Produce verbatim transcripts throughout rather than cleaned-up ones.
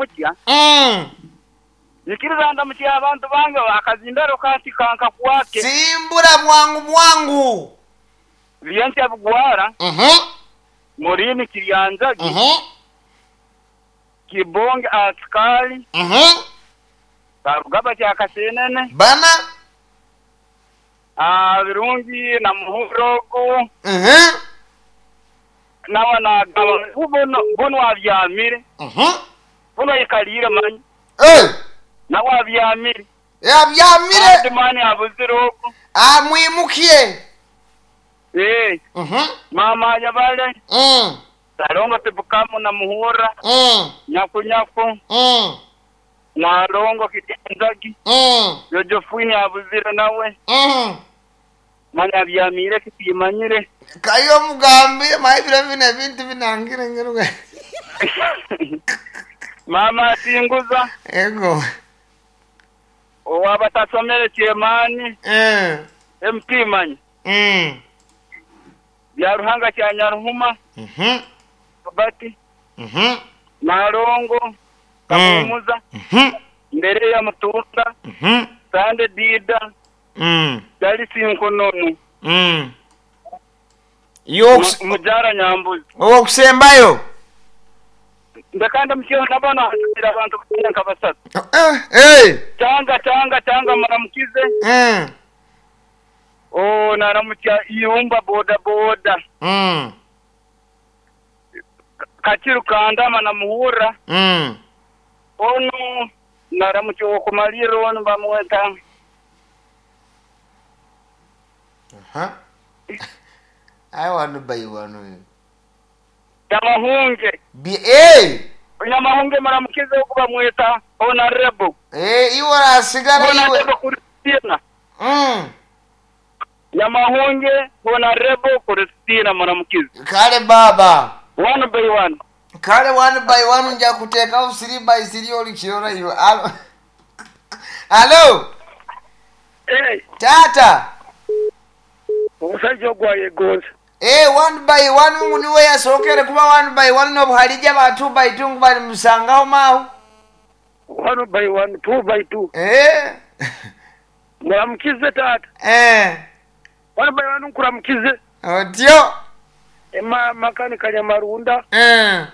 kutya. Mm. Nikiriza ndamukye abantu bange akazindaro kati kankakwake. Simbura bwangu bwangu. Byenkya bugwara. Mhm. Murini Kiryanzagi. Mhm. Kibonge askari. Mhm. Karugaba kya Kasenene. Bana. Ah, Birungi na Muhurogo. Mhm. Nawa nagaba buno buno abyamire. Mhm. Buno ikalire manyi. Eh. Nawe abyamire. Yabyamire. Andi mani abuzirogo. Ah, mwimukie. Eh. Mhm. Mama yabale. Mm. Salongo tibukamu na Muhura. Mm. Nyaku nyaku. Mm. Nalongo Kiryanzagi. Mm. Yojofwini abuzire nawe. Mm. Mani abyamire kitimanyire. Kayo mugambire maibira bino ebintu binangire ngeruga. Mama asinguza. Ego. Owabatasomere kyemani. Eh. M P manyi. Mm. Bya Ruhanga kya Nyaruhuma. Mhm. Bati. Mhm. Nalongo. Kamumuza. Mhm. Mbere ya Mutunda. Mhm. Sande Dida. Mm. Dalisi Nkonono. Mm. Yoks. Mujara Nyambuzi. Owokusembayo. Ndakanda mkiyo nabona hasira abantu kutenka basatu. Eh, eh. Tanga tanga tanga maramukize. Mm. Oh, naramukia iumba boda boda. Mm. Kachiru kandama na Muhura. Mm. Ono naramukia okumaliro ono bamweta. Aha. I want to buy one. Nyamahunge. Bi eh. Nyamahunge maramukize okuba mweta honorable. Eh, iwe asigara iwe. Honorable Christina. Mm. Nyamahunge honorable Christina maramukize. Kale baba. One by one. Kale one by one nja kuteeka three by three olikirora iwe. Alo. Alo. Eh. Tata. Omusajja ogwayegonza. Eh, one by one mungu niwe yasookere kuba one by one nobuhalija ba two by two ngu bali musangaho maaho. One by one, two by two. Eh. Muramukize tata. Eh. One by one nkuramukize. Otyo. Ema makani Kanyamarunda. Eh.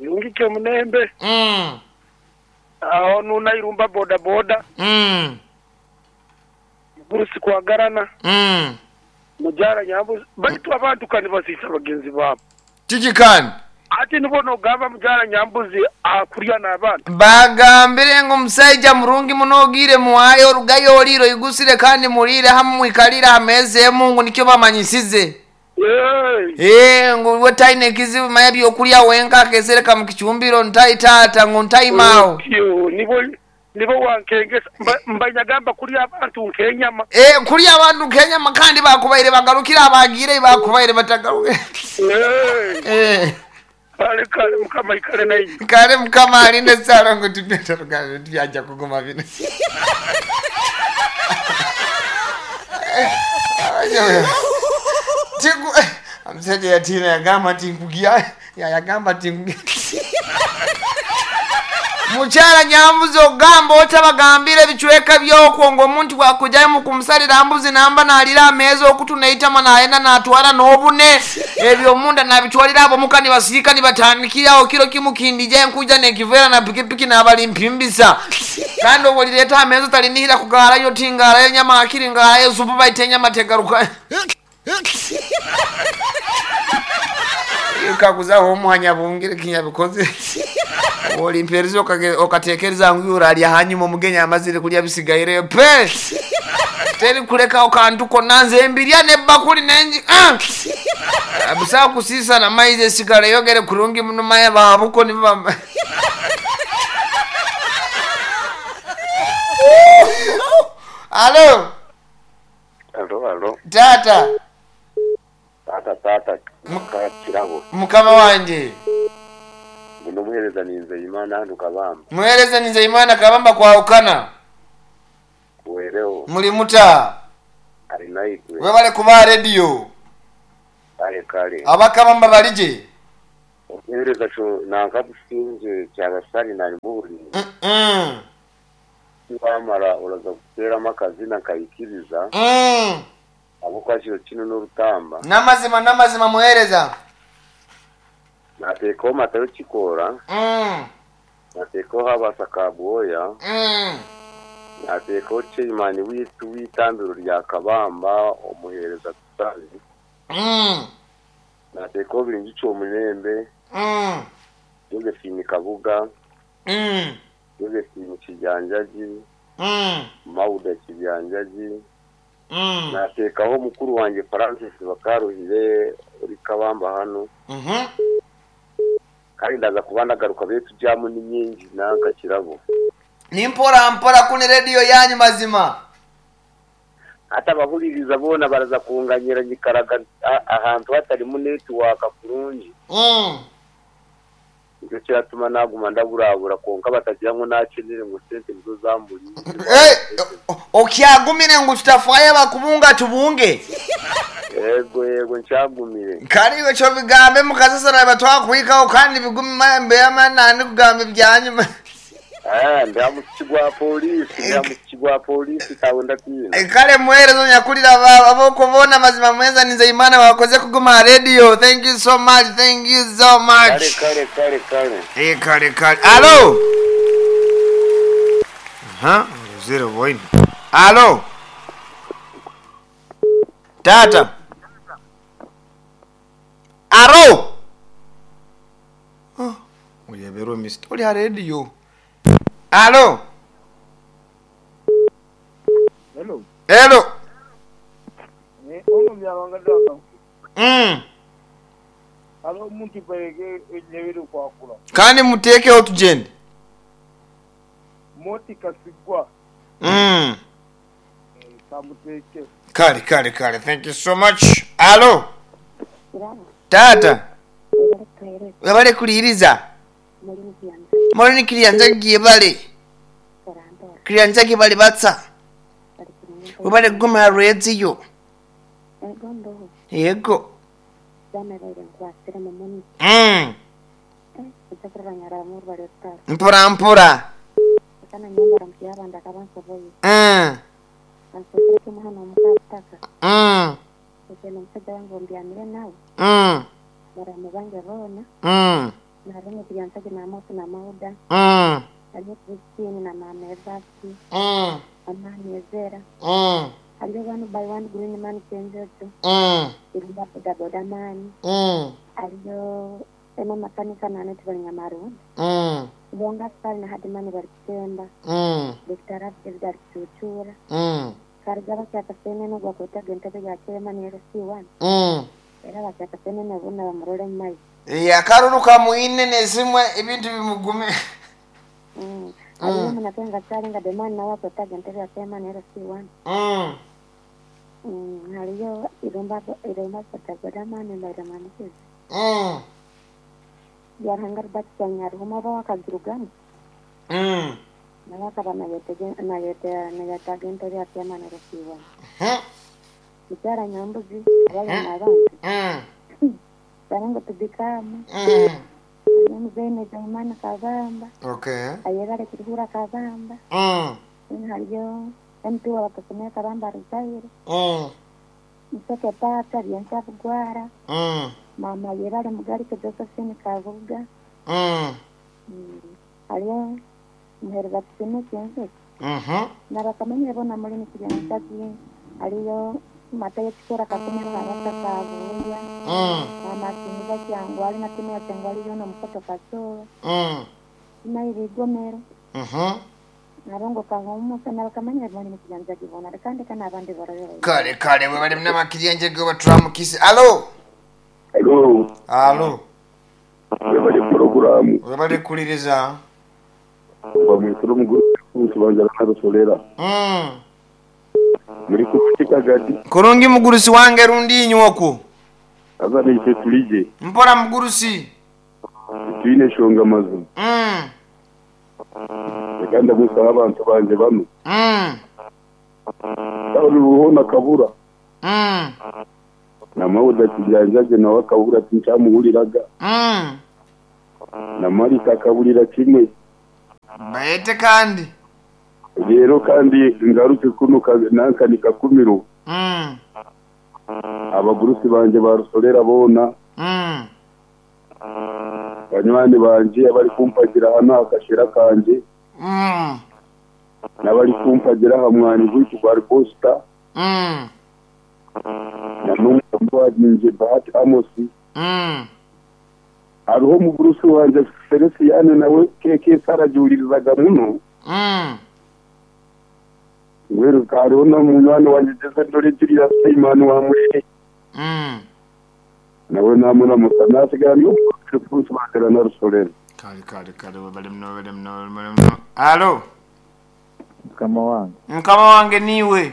Yungike Munembe. Mm. Aho nuna irumba boda boda. Mm. Burusi kwagarana. Mm. Mujara Nyambuzi baitu abantu kandi basisa bagenzi babo. Kiki kandi? Ati nibo nogamba Mujara Nyambuzi akurya n'abantu. Bagambire ngo omusajja murungi muno ogire muwayo orugayo oriro igusire kandi murire hamwe mwikalire hameze emungu nikyo bamanyisize. Hey. Eh, ngu we taine ekizibu manya byokulya wenka akesereka mu kicumbiro ntai tata ngu ntaimaawo. Yo, nibo nibo wankengesa mbanyagamba kulya abantu nkenyama. Eh, kulya abantu nkenyama kandi bakubaire bagarukira abagire bakubaire batagaruke. Eh. Eh. Kale kale mukama ikale nayi. Kale mukama alinde sala ngo tupeta rugabe tubyaja kuguma bino. Tiku amsajja yatina yagamba nti nkugia ya yagamba nti nkugia. Mukyala Nyambuzi ogamba otabagambira ebicweka by'okwo ng'omuntu bw'akujjayo mu kumusalira mbuzi namba n'alira ameeza okutuneitama n'ayenda n'atwala n'obune ebyo omunda n'abitwalira abo muka ne basiika ne batandikirawo kiro kimu kindija enkuja n'ekiveera na pikipiki n'abalimpimbisa kandi obwo lireeta ameeza talinihira kugaalayo tingaalayo nyama akiri ngaalayo supu baita enyama tegaruka. Kakuzaho omuhanya bungire kinyabikoze. Olimpereza okatekereza ngu uralya hanyuma omugenyi amazire kulya bisigaireyo pe. Teri kuleka okantu konna nze embirya n'ebbakuli nengi. Ah! Abusa kusisa na maize esigala yogere kurungi muno maya babuko ni bamba. Alo. Alo, alo. Tata. Tata, tata. Mukakirabo. Mukama wanje. Muno muhereza ni Nzeyimana hano Kabamba. Muhereza ni Nzeyimana Kabamba kwa ukana. Kuwereo. Muri muta. Ari naitwe. Webale kuba radio. Kale kale. Abakabamba balije. Omuheereza kyo nanka businge kyabasari narimuhurire. Mm. Wamara uraza kuteramo akazina nkayikiriza Mm. abo kwakiro kino n'orutamba. N'amazima n'amazima muheereza. Nateekaho matayo kikoora, Mm. nateekaho habasa kabwoya, Mm. nateekaho chairman witu w'itambiro rya Kabamba omuheereza Tusali, Mm. nateekaho Biringi Kyomulembe, Mm. Josephine Kabuga, Mm. Josephine Kijanjaji, Mm. Mauda Kijanjaji, Mm. nateekaho mukuru wanjye Francis Bakaruhire uri Kabamba hano, Mhm. kandi ndaza kuba ndagaruka betu jamu ni nyingi nanka kirabo. Ni mpora mpora kuni rediyo yanyu mazima. Hata abahuririza boona baraza kunganyira nyikaraga a- ahantu hatarimu netiwaaka kurungi. Mm. Nikyo kiratuma naguma ndaburabura konka batagira ngu nakenere ngu sente nizo zamburiye. Eh, okyagumire ngu tutafaayo bakubunga tubunge. Yego yego nkyagumire. Kariwe kyo bigambe mukasasara batwakwikaho kandi bigume mbeyama nandi kugamba ebyanyuma. Ah, ndi aha gwa polisi, ndi aha gwa polisi tawe ndatiina. Kale muheereza onyakulira aba- ab'okubona amazima mweza ninze Imana wakoze kuguma ha radio. Thank you so much. Thank you so Kare much. kare kare kare. Eh, kale kale. Alo. Aha, zero point. Alo. Tata. Aro. Oh, uyeberwe mister. Oli ha radio. Alo. Hello. Hello. Eh, ono byabanga daka. Mm. Alo omuntu bayege enyebere kwakula. Kandi muteekeho tugende. Moti kasigwa Mm. eh, kamuteke. Kale kale kale. Thank you so much. Alo. Tata. Webale kuliriza. Molini kiryanjagi bale. Kiryanjagi bale batsa. Webale kuguma radio. Yego. Mm. Mpora mpora. Mm. Mm. Mm. Mm. Mm. Mm. Mm. Aliyo one by one green man kenjojo Mm. irumba bodaboda man Mm. aliyo ema makanika nane tibali Mm. bonga sali na hadimani bali kutemba Mm. Dr. David ali kuchuchura Mm. kariga bakyaka senene gwakwetaga entebe ya chairman L C one Mm. era bakyaka senene bonna bamurole mu maizi. Eh, akaruru kamuine nesimwe ebintu bimugume. Mm. Aliyo munakenga kyali nga demani nawe akwetaga entebe ya chairman L C one. Mm. Mm, haliyo irumba irumba bodaboda man mbairemanikizi Mm. byarihanga Robert Kyanyaruhuma oba wakagirugamu Mm. nawe akaba nayetaga entebe ya chairman L C one. Hmm. Mukyala Nyambuzi abalina abantu Mm. barango tubikamu Mm. muzeyi Nezaimana Kabamba Okay. ayebale kuruhura Kabamba Mm. haliyo M P wabakasomea Kabamba Ruzaire Mm. Musoke Pata Byensa Bugwara Mm. mama yebale Mugalike Josephine Kabuga. Mm. Mm. Haliyo muhereza tusime Kenzo Mhm. nabakamanyire bona mulimi kiryanjagi haliyo matayo kikora kakumiro habata kabuya Mm. mama siniza kyangwali na timu ya kyangwali yona mukoto kasowa Mm. nairigomero Mhm. narongo kahumusa nabakamanyire bona kiryanjagi bona kandi kana abandi barabira. Kale kale we bali mnamakiryanjagi batramukisi. Alo. Hello, Alo. webale poroguramu We bali kuliriza. bamwisura omugore kubanza narusolera Mm. muri kutika gadi Kurungi mugurusi wange rundi inywoku. azana ife tulije Mpora mugurusi. twine shonga mazu Mm. reka ndamusaba abantu banje bano Mm. ruhona kabura Mm. namawuda kijanjaje nawe akabura tincamuhuriraga Mm. Na Marita akabulira kimwe. Bayete kandi. Rero kandi ngaruke kuno ka- nanka nikakumiro. Mm. Abagurusi banje barusolera bona. Mm. Banywani banje abari kumpagira hano akashera kanje. Mm. N'abari kumpagira aha mwani gwitu gwa Riposta. Mm. Na n'umugambi wanje Bahati Amosi. Mm. Hariho omugurusi wanje Feliciyane nawe keke sarajuririzaga muno. Mm. Ngweruka hariho na munywani wanje Jose Ndore Julius Simon wa Mushe. Mm. Nawe namuramusa nasigara niyo kurusi bakara na rusorera. Kale kale kale webale muno webale muno webale muno. Alo. Mukama wange. Mukama wange niwe.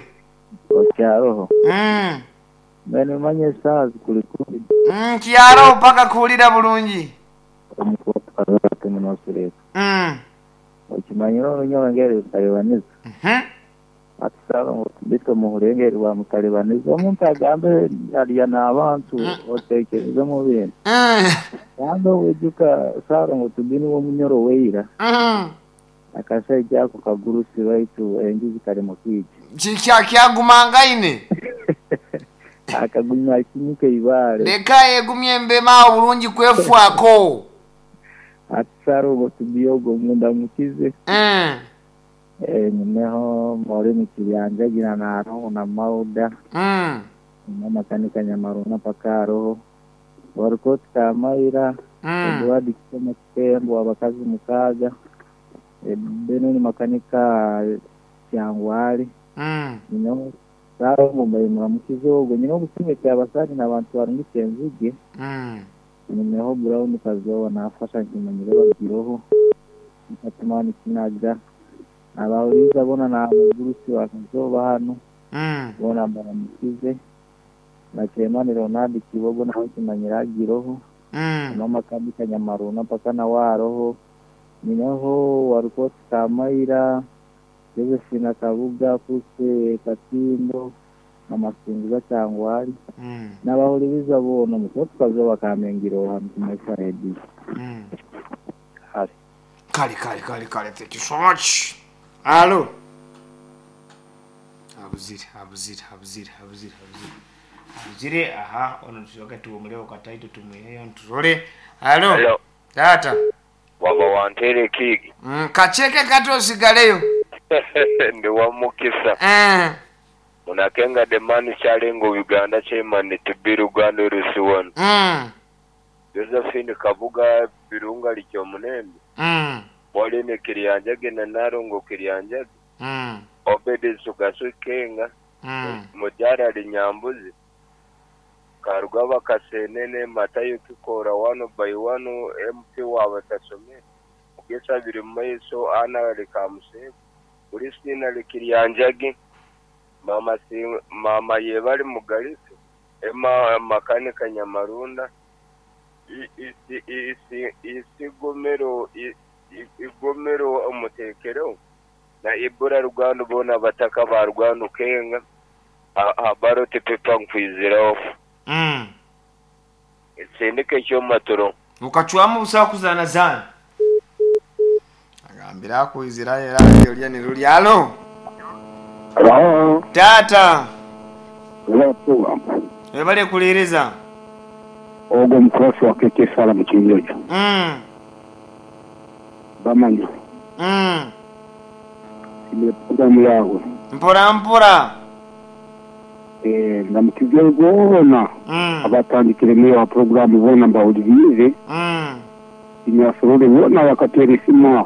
Okyaroho. Mm. Mbene manye esaawa zikuli kumi. Mm, kyaro paka kuwulira bulungi. Omukuwapazate munosureka. Mm. Okimanyire orunyongeri rutalibaniza. Mhm. Atusaba ngu tubite muhurengeri bwa mutalibaniza. Omuntu agambe arya n'abantu otekereze mu bintu. Mm. Kandi owijuka saara ngu tubini w'omunyoro weira. Mm. Akashaija ako kagurusi baitu enjuzi kari mu kwija. Kikya kyagumangaine. Akagumya akinyuka eibaare. Leka yegumye embema obulungi kwefwako. Atusara ngu tubi ogwo munda mukize. Mm. Eh, nyineho Maureen Kiryanjagira na Aroho na Mauda. Mm. Nyuma makanika Nyamaruna paka Aroho. Warikoti Kamaira. Mm. Edward Kisoma Kitembo abakazi mukaaga. Eh, Benoni makanika Kyangwali. Mm. Nyineho Saro Mumbai muramukize ogwo. Nyine obusinge kyabasani n'abantu barungitse enzige. Mm. Nyineho Brown Kazoba nafasha nkimanyire bagiroho. Nkatumani Kinaga. Abahuriza bona na abagurusi ba Kazoba hano. Mm. Bona baramukize. Na Clemani Ronald Kibogo nawe kimanyira agiroho. Mm. Mama Kabika Nyamaruna paka na waroho. Nyineho Warukoti Kamaira. Josephine Kabuga Kuse Katindo. Amasingiza Kyangwali. Mm. N'abahuriza bona mutoto Kazoba kamengiro hano kumesa radio. Mm. Kale. Kale kale kale kale thank you so much. Alo. Abuzire abuzire abuzire abuzire abuzire. Abuzire aha ono tusoka tuwomulewo kataito tumweyo ntulole. Alo. Hello. Tata. Waba wantere kiigi. Mm, kacheke kati osigaleyo. Ndi wa mukisa. Eh. Munakenga the man kyalengo Uganda chairman to be Uganda Rusiwon. Mm. Josephine Kabuga Birunga Likyomunembe. Mm. Pauline Kiryanjage na Narongo Kiryanjage. Mm. Obedi Sugasu Kenga. Mm. Mujara Linyambuzi. Karugaba Kasenene Matayo Kikora wano by wano M P wabatasome. Mugesa biri maiso ana likamusebe. Ulisina Likiryanjage. Mama si, mama yebali mugalisi. Ema makanika Nyamarunda. Isi isi isigomero igomero omutekero na ibura Rwanda bona bataka ba Rwanda kenga habaro tepepa nkwiziraho. Mm. Sindike cyo maturo. Ukachwamu busa kuzana zana. Agambira ku Israel radiyo ni ruli. Alo. Hello. Tata. Hello. Webale kuliriza. Ogwo mukosi wa K K Sala mu Kinjojo. Mm. Bamanya. Mm. Ile programu yawe. Mpora mpora. Eh, ndamukije bona. Mm. Abatandikire muri wa programu bona mbawulirize. Mm. Imyasorore bona bakatera isimu aho.